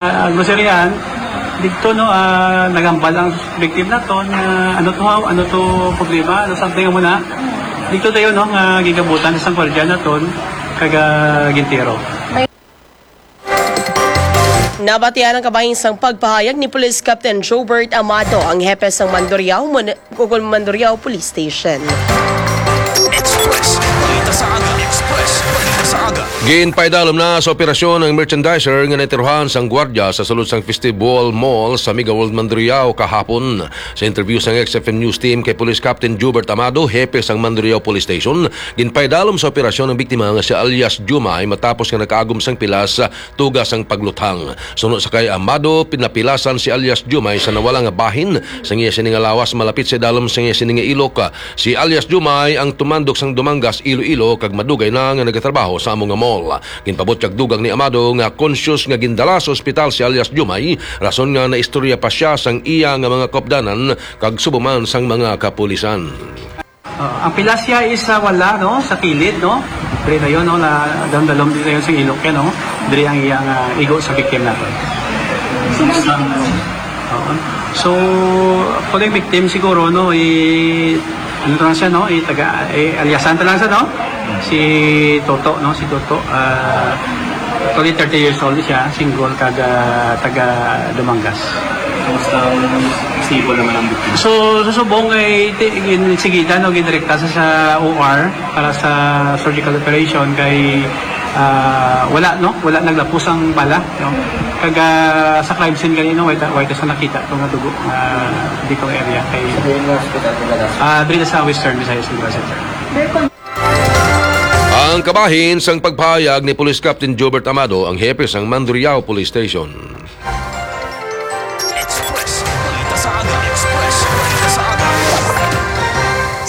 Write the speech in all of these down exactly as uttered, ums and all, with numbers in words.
Ah, grocery yan. Dito, no, ah, nagambal ang victim naton nga ano to, haw, ano to problema, ano something mo na. Dito tayo, no, nga gigabutan sa gwardiya naton, kag, ah, gintiro. Nabatian ang kabahin sang pagpahayag ni Police Captain Jobert Amado, ang hepe sang Mandurriao Mun-, Cogol Mandurriao Police Station. Express. Balita sa aga. Express. Balita sa aga. Ginpaidalom na sa operasyon ang merchandiser nga natiruhan sang gwardya sa sulod sang Festival Mall sa Mega World Mandurriao kahapon. Sa interview sang X F M News Team kay Police Captain Jubert Amado, hepe sang Mandurriao Police Station, ginpaidalom sa operasyon ang biktima nga si alias Jumay matapos nga nakaagom sang pilas tuga sang pagluthang. Suno sa kay Amado, pinapilasan si alias Jumay sa nawala nga bahin sang iya sini nga lawas malapit sa idalom sang iya sini nga ilok. Si alias Jumay ang tumandok sang Dumangas, Iloilo, kag madugay na nga nagatrabaho sa amo nga mall. Ginpabutyag dugang ni Amado nga conscious nga gindala sa ospital si alias Jumay, rason nga naistorya pa sia sang iya nga mga kaupdanan kag subo man sang mga kapulisan. Ah, ang pilasya is sa wala, no, sa kilid, no. Diri na yun, no, na dalom-dalom din na yun sa ilok yan, no. Diri ang iyang ah, igo sa victim natin. Oo. So, for the victim siguro, no, i ano to lang siya, no, i taga, i alyasan to lang siya, no. Si Toto, no, si Toto, ah, actually thirty years old siya, single, kag ah, taga Dumangas. Kumusta ang stable naman ang biktima? So, sa subong ay ti- gin- sigida, no, gindirekta sa, sa O R para sa surgical operation kay ah, wala, no, wala naglapos ang bala, no. Kag ah, sa crime scene kanino, wala ta- wala ta sa nakita to nga dugo nga dito area kay Sa yung hospital ko na ah diri sa Western Visayas Central Center. Ang kabahin sang pagpahayag ni Police Captain Jobert Amado, ang hepe sang Mandurriao Police Station. Express. Balita sa aga. Express. Balita sa aga.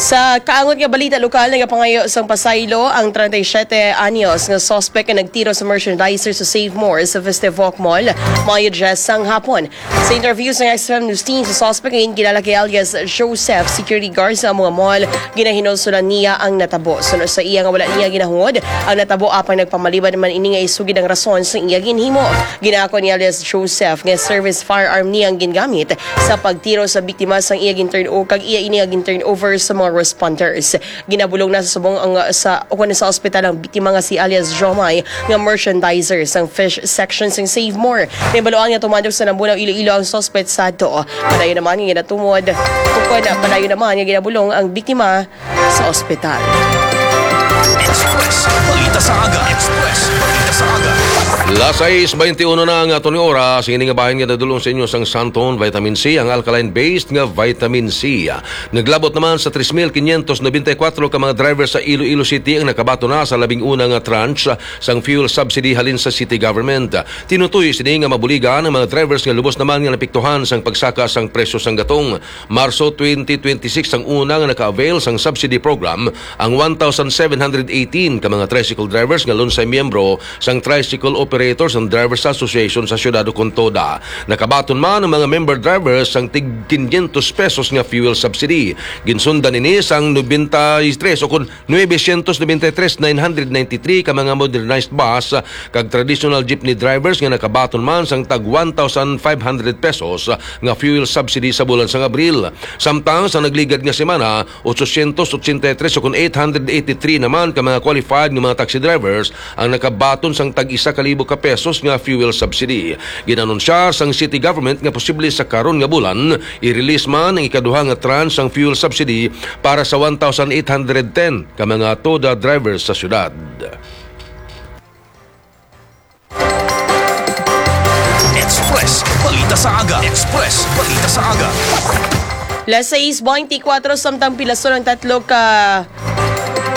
Sa kaangot nga balita lokal, nagapangayo sang pasaylo ang treinta y siete anyos nga suspect nga nagtiro sa merchandiser sa Save More sa Festival Mall, Mayo diyes sang hapon. Sa interview sa X F M News Team, sa suspect nga ginkilala kay alias Joseph, security guard sa amo nga mall, ginahinulsolan niya ang natabo. Suno sa iya nga wala niya ginahungod ang natabo, apang nagpamalibad man ini nga isugid ang rason sa iya ginhimo. Ginaako ni alias Joseph nga service firearm niya ang gingamit sa pagtiro sa biktima sang iya gin-turn o-, kag iya ini nga gin-turn over sa mga responders. Ginabulong na sa subong ang sa ukon sa ospital ang biktima nga si alias Jomay nga merchandiser sang fish section sang Save More. Nahibaluan nga tumandok sa Nambunaw, Iloilo ang suspect sadto. Padayon naman nga ginatumod ukon padayon naman nga ginabulong ang biktima sa ospital. Express. Balita sa aga. Express. Balita sa aga. Las sais bainti uno na ang aton nga oras. Ini nga bahin nga nadulong sa inyo sang Santon Vitamin C, ang alkaline-based nga vitamin C. Naglabot naman sa tres mil quinientos noventa y cuatro ka mga driver sa Iloilo City ang nakabaton na sa labing una nga tranche sang fuel subsidy halin sa city government. Tinutoy sini nga mabuligan ang mga drivers nga lubos naman nga napiktuhan sang pagsaka sang presyo sang gatong. Marso twenty twenty-six ang una nga naka-avail sang subsidy program ang one thousand seven hundred eighteen ka mga tricycle drivers nga lunsay miyembro sang Tricycle Operators and Drivers Association sa siyudad ukon toda. Nakabaton man ang mga member drivers sang tig quinientos pesos nga fuel subsidy. Ginsundan ini sang noventa y tres o kon nuebe sientos noventa y tres nine hundred ninety-three ka mga modernized bus kag traditional jeepney drivers nga nakabaton man sang tag one thousand five hundred pesos nga fuel subsidy sa bulan sang Abril. Samtang sa nagligad nga semana, ochocientos ochenta y tres o kon eight hundred eighty-three naman ka mga qualified nga mga taxi drivers ang nakabaton sang tag isa ka libo ka pesos nga fuel subsidy. Ginanunsya sang city government nga posible sa karon nga bulan i-release man ang ikaduha nga tranche sang fuel subsidy para sa one thousand eight hundred ten ka mga toda drivers sa syudad. Express. Balita sa aga. Express. Balita sa aga. Las sais bainti kuwatro, samtang pilason ang tatlo ka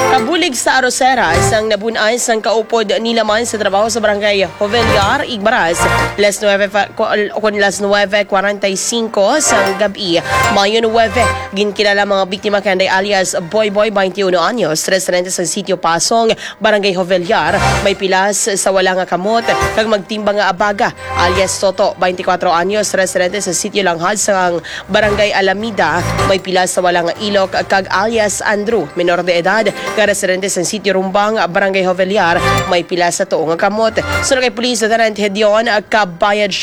kabulig sa arosera sang nabun-an sang kaupod nila man sa trabaho sa Barangay Jovellar, Igbaras. Las nuebe pa- ku- kun las nuebe cuarenta y cinco sang gab-i, Mayo nuebe, ginkilala mga biktima kanday alias Boy Boy, bainti uno anyos, residente sa Sitio Pasong, Barangay Jovellar, may pilas sa wala nga kamot kag magtimbang nga abaga, alias Toto, bainti kuwatro anyos, residente sa Sitio Langhad sang Barangay Alameda, may pilas sa wala nga ilok, kag alias Andrew, menor de edad, nga residente sa Sitio Rumbang, Barangay Jovellar, may pila sa tuo nga kamot. Suno kay Police Lieutenant Hedion Kabayad